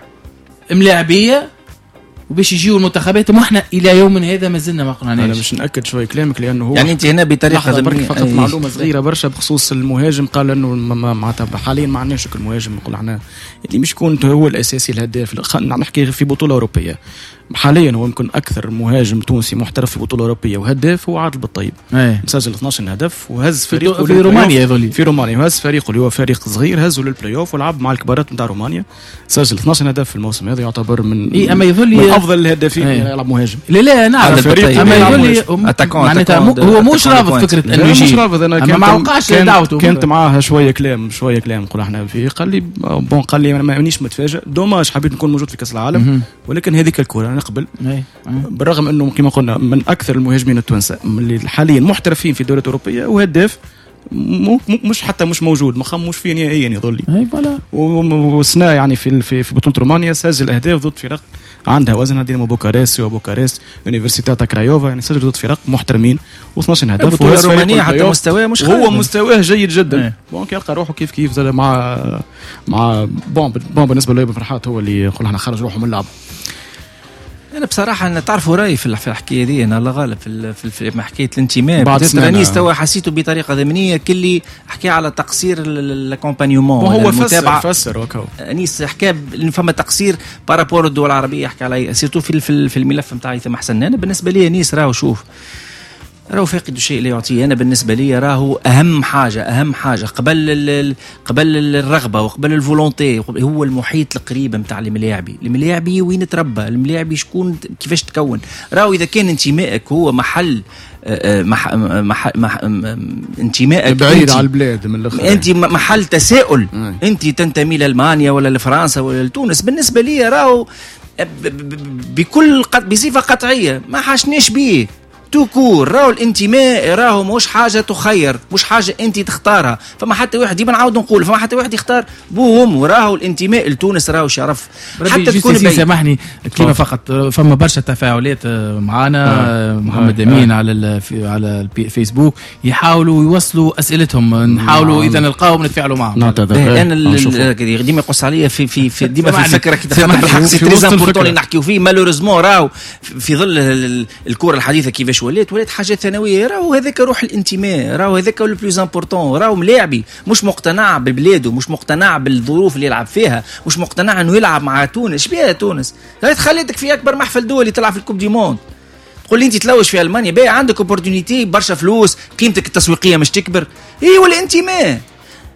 ملاعبيه وباش يجيو المنتخبات، واحنا الى يوم هذا ما زلنا ما قنعناش. انا باش ناكد شوي كلامك لانه هو يعني انت هنا بطريقة برك فقط أيه. معلومة صغيرة برشا بخصوص المهاجم، قال انه معناتها حاليا ما عندناش المهاجم، نقول احنا اللي مش يكون هو الاساسي الهداف، نحكي في بطوله اوروبية حاليا هو يمكن اكثر مهاجم تونسي محترف في بطوله اوروبية وهداف هو عادل بالطيب، مسجل اثناش هدف وهز فريقه في رومانيا يظل في رومانيا، وهز فريقه اللي هو فريق صغير هزه للبلاي اوف ولعب مع الكبارات نتاع رومانيا، سجل اثناش هدف في الموسم هذا، يعتبر من إيه أما يظل افضل الهدافين إيه. يلعب مهاجم. لا لا نعرف اما يظل معناتها هو مش رافض فكرة انه يجي، مش رافض. انا كنت ما وقعش دعوته، كانت معاها شوية كلام شوية كلام نقول احنا فيه، قال لي bon، قال لي انا مانيش متفاجئ، dommage حبيت نكون موجود في كاس العالم، ولكن هذيك الكره انا نقبل، بالرغم انه كما قلنا من اكثر المهاجمين التوانسة اللي حاليا محترفين في الدوريات الاوروبية وهداف مش حتى مش موجود، ما خموش فيه نهائيا يظل لي. اي voilà. وسنا يعني في في في بطوله رومانيا سجل اهداف ضد فرق عندها وزنها، دينامو بوكارست وبوكارست يونيفرسيتاتا كرايوفا، يعني سجل ضد فرق محترمين واثناش هدف. البطولة الرومانية حتى مستواه مش هو مستواه جيد جدا، donc يلقى روحه كيف كيف زاد مع مع bon bon بالنسبة له فرحات هو اللي نقول احنا خرج روحه من اللعب. انا بصراحة انا تعرفوا رايي في الحكاية دي، انا الله غالب في في, في حكاية الانتماء رانيس توا حسيته بطريقة ضمنيه كلي حكى على تقصير l'accompagnement، هو فسر فسر وكو انيس حكى فما تقصير par rapport الدول العربية، حكى على surtout في في الملف نتاع هيثم حسن. انا بالنسبة لي انيس راهو شوف راهو فاقد الشيء لا يعطيه. انا بالنسبة لي راهو اهم حاجة اهم حاجة قبل قبل الرغبة وقبل ال volonté هو المحيط القريب نتاع الملاعبي، الملاعبي وين تربى، الملاعبي شكون كيفاش تكون. راهو اذا كان انتمائك هو محل مح مح مح انتمائك بعيد على البلاد من الاخر، انت محل تساؤل، انت تنتمي لالمانيا ولا لفرنسا ولا لتونس. بالنسبة لي راهو بكل بصفة قطعية ما حاشناش بيه tout court. راهو الانتماء راهو مش حاجة تخير، مش حاجة انت تختارها. فما حتى واحد ديما نعاود نقول فما حتى واحد يختار بوهم، وراهو الانتماء لتونس راهو شرف حتى تكون. سامحني كلمة فقط، فما برشا تفاعلات معانا آه. محمد آه. امين آه. على على الفيسبوك يحاولوا يوصلوا اسئلتهم، نحاولوا اذا نلقاهم نتفاعلوا معهم. انا ديما يقص عليا في في, في ديما في الفكرة كي بالحق c'est très important اللي نحكيو فيه. malheureusement راهو في ظل الكره الحديثة كيفاش ولات ولات حاجة ثانوية. راهو هذاك روح الانتماء، راهو هذاك le plus important. راهو ملاعبي مش مقتنع ببلاده، مش مقتنع بالظروف اللي يلعب فيها، مش مقتنع انه يلعب مع تونس. بها تونس هاي خليتك في اكبر محفل دولي تلعب في ال coupe du monde، تقول لي انت تلوج في المانيا، باهي عندك opportunité برشا فلوس، قيمتك التسويقية مش تكبر. ايه والانتماء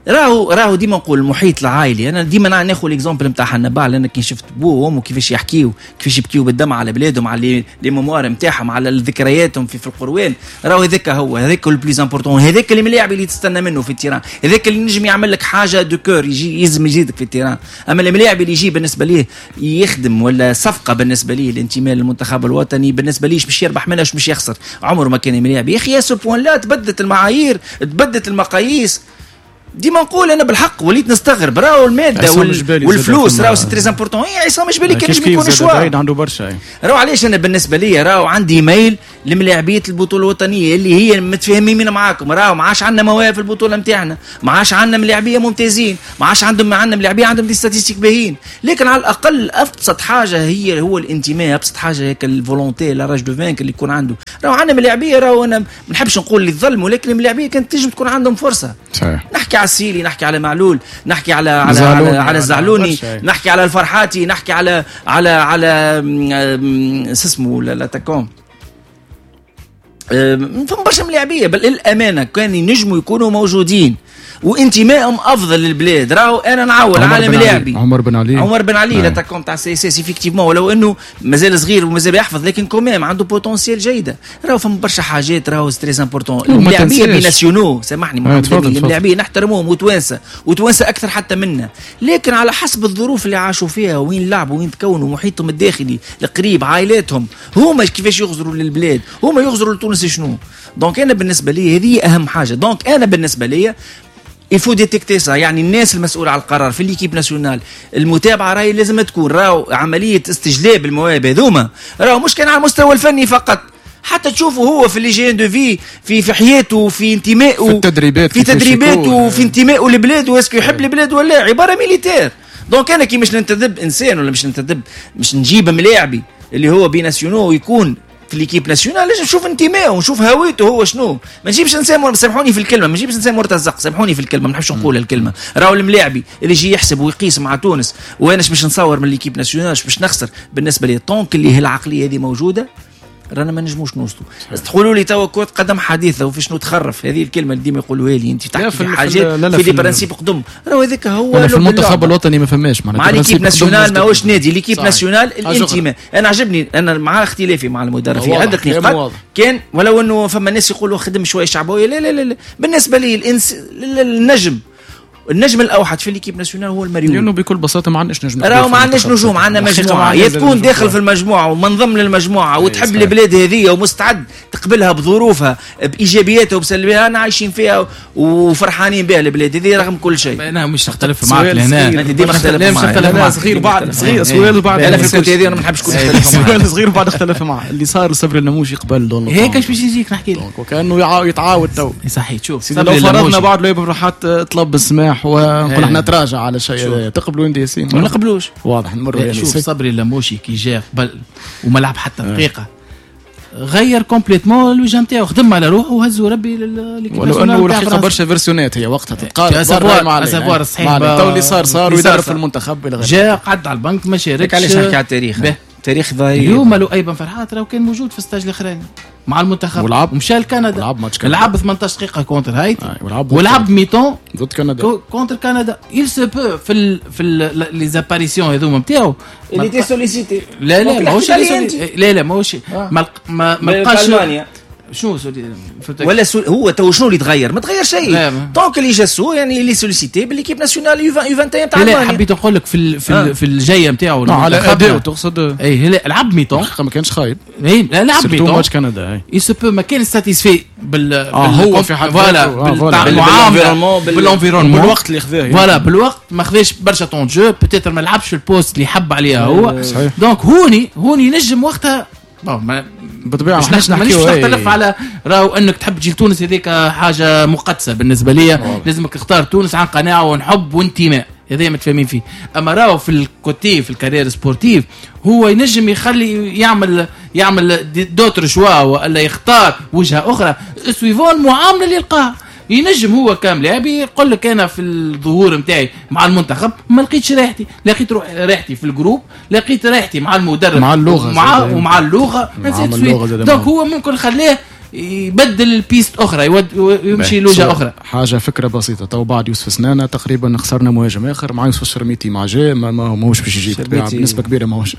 راهو راهو ديما نقول المحيط العائلي. انا ديما ناخذ l'exemple نتاع حنبعل، لان كي شفت بوه وامه كيفاش يحكيو، كيفاش يبكيو بالدمع على بلادهم، على les mémoires نتاعهم، على ذكرياتهم في في القروان، راهو هذاك هو هذاك le plus important، هذاك اللي ملاعب اللي تستنى منه في ال terrain، هذاك اللي نجم يعمل لك حاجة de cœur، يجي يلزم يزيدك في ال terrain. اما الملاعب اللي يجي بالنسبة ليه يخدم ولا صفقة بالنسبة ليه الانتماء للمنتخب الوطني، بالنسبة ليه باش يربح منها باش يخسر، عمره ما كان ملاعب. يا اخي à ce point-là تبدلت المعايير، تبدلت المقاييس. ديما نقول انا بالحق وليت نستغرب، راهو المادة وال... والفلوس راهو c'est très important. اي عصام جبالي كان ينجم يكون choix، عنده برشا. راهو علاش انا بالنسبة لي راهو عندي ميل لملاعبيه البطولة الوطنية اللي هي متفاهمين معاكم، راهو ما عادش عندنا مواهب في البطولة نتاعنا، ما عادش عندنا ملاعبيه ممتازين، ما عادش عندهم عندنا ملاعبيه عندهم des statistiques باهيين، لكن على الاقل ابسط حاجة هي هو الانتماء، ابسط حاجة هيك ال volonté la rage de vaincre اللي يكون عنده. راهو عندنا ملاعبيه، راهو انا ما نحبش نقول اللي ظلم، ولكن الملاعبيه كانت تنجم تكون عندهم فرصة. صحيح. نحكي على السيلي، نحكي على معلول، نحكي على على على, على الزعلوني، نحكي على الفرحاتي، نحكي على على على اسمه l'attaquant، فما برشا ملاعبيه بل الامانة كان ينجموا يكونوا موجودين وانتمائهم افضل للبلاد. راهو انا نعول على ملاعبي عمر بن علي، عمر بن علي l'attaquant تاع CSS effectivement، ولو انه مازال صغير ومازال يحفظ، لكن quand même عنده potentiel جيدة. راهو فما برشا حاجات راهو très important. الملاعبيه binationaux، سامحني محمد، الملاعبيه نحترموهم وتوانسه وتوانسه اكثر حتى منا، لكن على حسب الظروف اللي عاشوا فيها، وين لعبوا، وين تكونوا، محيطهم الداخلي القريب، عائلاتهم، هما كيفاش يغزروا للبلاد، هما يغزروا لتونس شنو. donc انا بالنسبة لي هذه اهم حاجة. donc انا بالنسبة لي il faut détecter ça، يعني الناس المسؤولة على القرار في l'équipe nationale، المتابعة راهي لازم تكون، راهو عملية استجلاب المواهب هذوما راهو مش كان على المستوى الفني فقط، حتى تشوفه هو في l'hygiène de vie، في في حياته، في انتمائه، في التدريبات، في تدريباته، في انتمائه لبلاده، est-ce que يحب البلاد ولا عبارة militaire. donc انا كي مش ننتدب انسان ولا مش ننتدب مش نجيب ملاعبي اللي هو binational ويكون في l'équipe nationale، لازم نشوف انتمائه ونشوف هويته هو شنو. ما نجيبش انسان، سامحوني في الكلمة، ما نجيبش انسان مرتزق، سامحوني في الكلمة، ما نحبش نقول الكلمة. راهو الملاعبي اللي يجي يحسب ويقيس مع تونس، وانا باش نصور من l'équipe nationale باش نخسر، بالنسبة لي tant que اللي هي العقلية هذه موجودة رانا ما نجموش نوصلوا. تقولوا لي توا كرة قدم حديثه وفي شنو تخرف، هذه الكلمة اللي ديما يقولوها لي، انت تحكي في حاجات في les principes قدم، راهو هذاك هو في المنتخب الوطني ما فماش معناتها مع l'équipe nationale، ماهوش نادي l'équipe nationale الانتماء. انا عجبني، انا مع اختلافي مع المدرب في عده نقاط كان، ولو انه فما ناس يقولوا خدم شوية شعبويه، لا لا لا, لا. بالنسبة لي الانس... النجم النجم الاوحد في l'équipe nationale هو المريول، لانه بكل بساطة ما عندناش نجم، راهو ما عندناش نجوم، عندنا مجموعة، يا تكون داخل في المجموعة ومنضم للمجموعة وتحب البلاد هذه ومستعد تقبلها بظروفها بايجابياتها وبسلبياتها، انا عايشين فيها وفرحانين بها البلاد هذه رغم كل شيء. انا مش نختلف معك لهنا، ديما نختلف معك، صغير بعد صغير سؤال بعد، انا في ال côté هذه انا ما نحبش كون نختلف معك، سؤال صغير بعد اختلف معه اللي صار صبري النموشي قبل هيك باش يجيك نحكي لك، وكانه يتعاود تو صحيح. شوف لو فرضنا بعد لو فرحات طلب السماح ونقول احنا نتراجع على شيء، تقبلوا انت ياسين؟ ما نقبلوش، واضح نمر. يعني شوف صبري اللموشي كي جا قبل وما لعب حتى دقيقة، غير complètement الوجه نتاعو، خدم على روحه وهزوا ربي ل l'équipe. ولو انه الحقيقة برشا version ات هي وقتها تتقارب مع savoir صحيح، تو اللي صار صار ويدرب في المنتخب الى غيره، جا قعد على البنك ما شاركش. علاش نحكي على التاريخ؟ تاريخ ضايع. اليوم لؤي بن فرحات راهو كان موجود في ال stage الاخراني مع المنتخب، ولعب ومشى لكندا، ولعب ماتش كندا، لعب ثمنطاش دقيقة contre هايتي، آه. ولعب ولعب mi-temps ضد كندا، contre كندا. il se peut في ال في les apparitions هذوما نتاعو اللي était sollicité. لا لا ماهوش، لا لا ماهوش، ما ما لقاش شنو ولا سو... هو تو شنو اللي تغير؟ ما تغير شيء. donc اللي جاسو يعني اللي sollicité ب l'équipe nationale U واحد وعشرين تاع المانيا. لا حبيت نقول لك في ال... في, آه. في الجاية نتاعو على اداء تقصد؟ اي لا لعب mi-temps ما كانش خايب. اي لا لعب mi-temps ماتش كندا il se peut ما كان satisfait بال آه هو في حد voilà بال بال environnement بالوقت اللي خذاه voilà بالوقت ما خذاش برشا temps de jeu، peut-être ما لعبش في ال poste اللي حب عليها هو. donc هوني هوني نجم وقتها بالطبيعة مش مانيش نختلف على راهو انك تحب تجي لتونس، هذيك حاجة مقدسة بالنسبة لي، لازمك تختار تونس عن قناعة ونحب وانتماء، هذا متفاهمين فيه. اما راهو في ال côté في ال carrière sportive هو ينجم يخلي يعمل يعمل d'autres choix ولا يختار وجهه اخرى suivant المعاملة اللي يلقاها. ينجم هو كامل يقول لك انا في الظهور نتاعي مع المنتخب ما لقيتش راحتي، لقيت راحتي في ال groupe، لقيت راحتي مع المدرب مع اللغة مع ومع اللغة، donc هو ممكن خليه يبدل ال piste اخرى، يمشي لوجهه اخرى. حاجة فكرة بسيطة، تو بعد يوسف سنانه تقريبا خسرنا مهاجم اخر مع يوسف الشرميتي مع جاء ما ماهوش باش يجي بنسبة كبيرة، ماهوش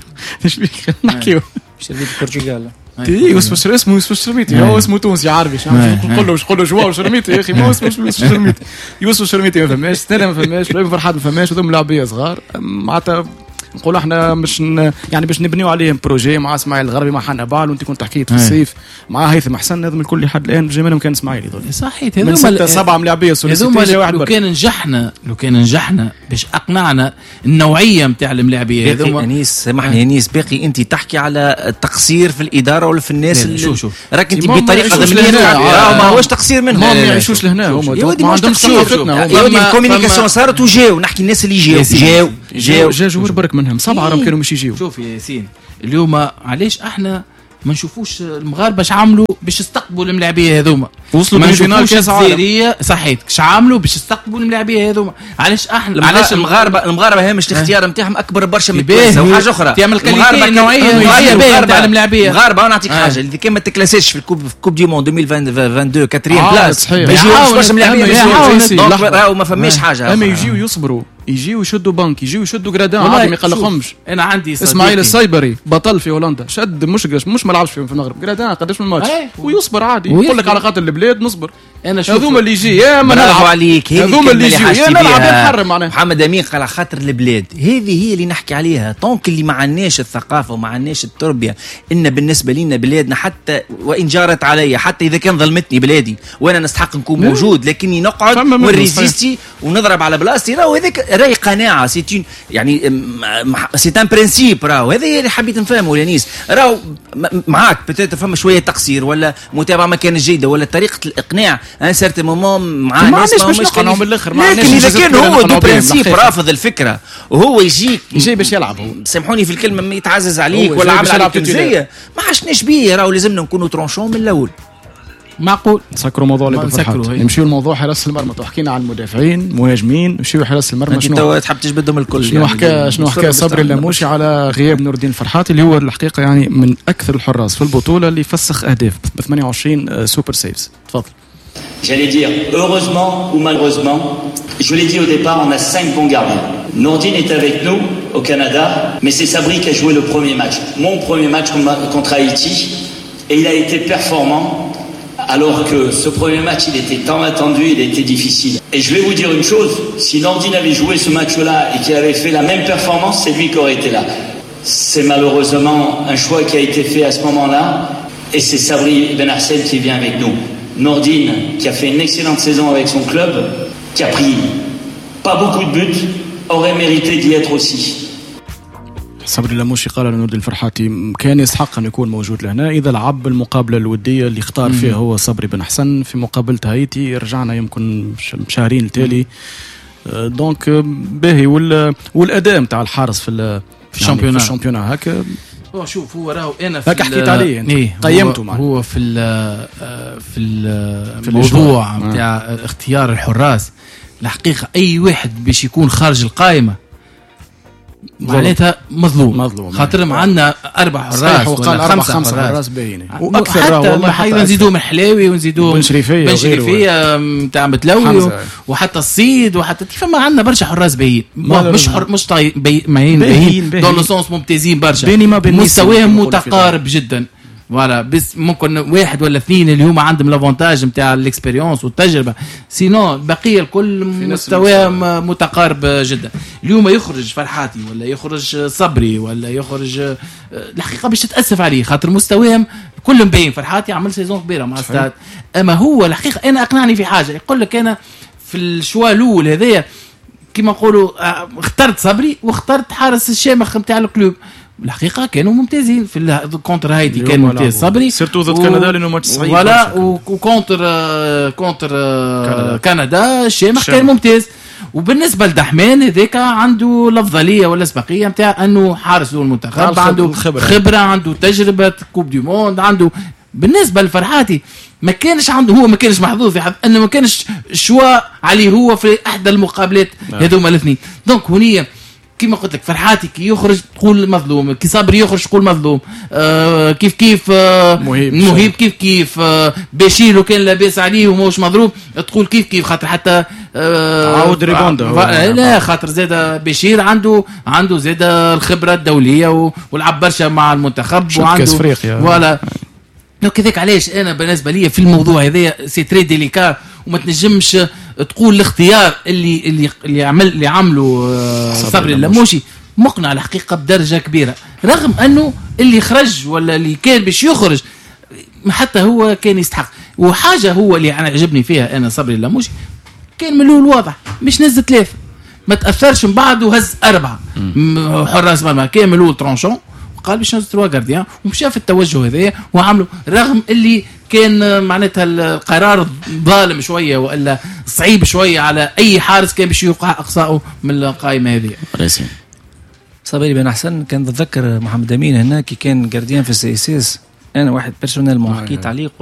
نحكيو شرميتي البرتغال. يوسف الشرميتي اسمه يوسف الشرميتي، هو اسمه تونسي عربي، نقول له نقول له جواو شرميتي يا اخي، ما اسمه يوسف الشرميتي. يوسف الشرميتي ما فماش، سنانه ما فماش، فرحات ما فماش، وذم لاعبيه صغار معناتها نقول احنا مش ن... يعني باش نبنيو عليهم projet مع اسماعيل الغربي مع حنا بال، وانت كنت حكيت في الصيف مع هيثم حسن، هذم الكل لحد الان جا منهم كان اسماعيل هذول صحيح. هذوما ستة سبعة ملاعبيه sollicité واحد. لو كان نجحنا لو كان نجحنا باش اقنعنا النوعية نتاع الملاعبيه هذوما. انيس سامحني انيس، باقي انت تحكي على التقصير في الادارة ولا في الناس اللي شو شو راك انت بطريقة ضمنيه، ما هوش تقصير منهم، ما يعيشوش لهنا هما، ما عندهمش ثقافتنا. يا ودي ال communication صارت وجاو، نحكي الناس اللي جاو جاو جاو جاو برك منهم سبعة راهم كانوا مش يجيو. شوف يا ياسين، اليوم علاش احنا ما نشوفوش المغاربة اش عملوا باش يستقبلوا الملاعبيه هذوما؟ وصلوا لل finale كاس عالم صحيت، اش عملوا باش يستقبلوا الملاعبيه هذوما؟ علاش احنا علاش المغاربة المغاربة هامش الاختيار نتاعهم اكبر برشا من التوانسة. وحاجه اخرى المغاربة النوعية النوعية باهيه نتاع الملاعبيه المغاربة. انا نعطيك حاجة، اللي كان ما تكلاسيش في ال coupe coupe du monde ألفين واثنين وعشرين quatrième place ما يجيوش برشا ملاعبيه، راهو ما فماش حاجة. اما يجيو يصبروا، يجيو يشدوا بنك، يجيو يشدوا gradin عادي ما يقلقهمش. انا عندي اسماعيل الصيبري بطل في هولندا، شد مش مش ما لعبش في المغرب gradin قداش من ماتش ويصبر عادي، يقول لك على خاطر البلاد نصبر. انا هذوما اللي يجي يا ما نلعب عليك، هذوما اللي يجي يا نلعب نحرم معناها. محمد امين قال على خاطر البلاد، هذه هي اللي نحكي عليها. tant que اللي ما عندناش الثقافة وما عندناش التربية، ان بالنسبة لنا بلادنا حتى وان جارت علي، حتى اذا كان ظلمتني بلادي وانا نستحق نكون موجود، لكني نقعد ون résister ونضرب على بلاصتي، راهو هذاك راهي قناعة، c'est يعني c'est un principe. راهو هذا اللي حبيت نفهمه لانيس، راهو معاك peut-être فما شوية تقصير ولا متابعه ما كانت جيدة ولا طريقه الاقناع un certain moment مع ناس ما باش نقنعوا من الاخر، لكن اذا كان هو de principe رافض الفكرة وهو يجيك يجي باش يلعب، هو سامحوني في الكلمة يتعزز عليك ولا عامل عليك تمزيه، ما عشناش بيه. راهو لازمنا نكونوا tranchants من الاول. معقول نسكروا موضوع اللي بالفرحات، نمشيو لموضوع حراسة المرمى. حكينا على المدافعين مهاجمين، نمشيو حراسة المرمى. شنو انت تحب تجبدهم الكل؟ شنو يعني حكى شنو حكى صبري اللاموشي على غياب نور الدين الفرحاتي اللي هو الحقيقة يعني من اكثر الحراس في البطولة اللي فسخ اهداف ب ثمانية وعشرين super saves. تفضل. J'allais dire heureusement ou malheureusement, je l'ai dit au départ, on a cinq bons gardiens. Nordine est avec nous au Canada, mais c'est Sabri qui a joué le premier match, mon premier match contre Haïti, et il a été performant. Alors que ce premier match, il était tant attendu, il était difficile. Et je vais vous dire une chose, si Nordine avait joué ce match-là et qu'il avait fait la même performance, c'est lui qui aurait été là. C'est malheureusement un choix qui a été fait à ce moment-là, et c'est Sabri Ben Hassen qui vient avec nous. Nordine, qui a fait une excellente saison avec son club, qui a pris pas beaucoup de buts, aurait mérité d'y être aussi. صبري اللاموشي قال لنور الدين الفرحاتي كان يستحق أن يكون موجود لهنا إذا لعب المقابلة الودية اللي اختار فيها هو صبري بن حسن في مقابلة هايتي، رجعنا يمكن شهرين التالي. donc باهي والأداء نتاع الحارس في في ال championnat في ال championnat هكا. هو شوف هو راهو انا في هكا حكيت عليه إيه قيمته معنا. هو في في الموضوع نتاع اختيار الحراس الحقيقة اي واحد باش يكون خارج القائمة معناتها مظلوم مظلوم، خاطر عندنا اربع حراس ولا خمسة خمسة حراس باهيين واكثر، والله حتى نزيدوهم الحلاوي ونزيدوهم بن شريفيه بن شريفيه نتاع متلوي وحتى الصيد وحتى فما عندنا برشا حراس باهيين، مش حر مش طاي باهيين باهيين dans le sens ممتازين برشا، مستواهم متقارب جدا. voilà بس ممكن واحد ولا اثنين اللي هما عندهم l'avantage نتاع ال expérience والتجربة، sinon البقية الكل مستواهم متقارب جدا. اليوم يخرج فرحاتي ولا يخرج صبري ولا يخرج الحقيقة باش تتاسف عليه خاطر مستواهم كلهم باين. فرحاتي عمل saison كبيرة مع ستاد، اما هو الحقيقة انا اقنعني في حاجة، يقول لك انا في ال choix الاول هذايا كيما نقولوا اخترت صبري واخترت حارس الشامخ نتاع ال club. الحقيقة كانوا ممتازين في contre هايتي، كان ممتاز صبري surtout ضد كندا لانه ماتش صعيب voilà، و contre contre كندا الشامخ كان ممتاز. وبالنسبة لدحمان هذاك عنده الافضلية ولا الاسبقيه نتاع انه حارس المنتخب، عنده خبرة. خبره، عنده تجربه coupe du monde، عنده. بالنسبة لفرحاتي ما كانش عنده، هو ما كانش محظوظ في حظ انه ما كانش choix عليه هو في احدى المقابلات هذوما الاثنين. donc هنيه كيما قلت لك فرحاتي كي يخرج تقول مظلوم، كي صبري يخرج تقول مظلوم، آه كيف كيف آه مهيب, مهيب كيف كيف آه بشير لو كان لاباس عليه وماهوش مضروب تقول كيف كيف، خاطر حتى آه عاود rebond لا خاطر زاد بشير عنده عنده زاد الخبرة الدولية ولعب برشا مع المنتخب وعنده voilà. donc هذاك علاش انا بالنسبة لي في الموضوع هذايا c'est très délicat، وما تنجمش تقول الاختيار اللي اللي اللي عمل اللي عمله صبري اللموشي مقنع الحقيقة بدرجة كبيرة، رغم انه اللي خرج ولا اللي كان باش يخرج حتى هو كان يستحق. وحاجه هو اللي انا عجبني فيها انا صبري اللموشي كان من الاول واضح مش نزل ثلاثة، ما تاثرش من بعد وهز اربعة حراس مرمى، كان من الاول tranchant وقال باش نهز trois gardiens ومشى في التوجه هذايا وعملوا، رغم اللي كان معناتها القرار ظالم شوية والا صعيب شوية على اي حارس كان باش يوقع اقصائه من القائمة هذه. صبري بن حسن كان تتذكر محمد امين هنا كي كان gardien في ال CSS، انا واحد personnellement حكيت عليه.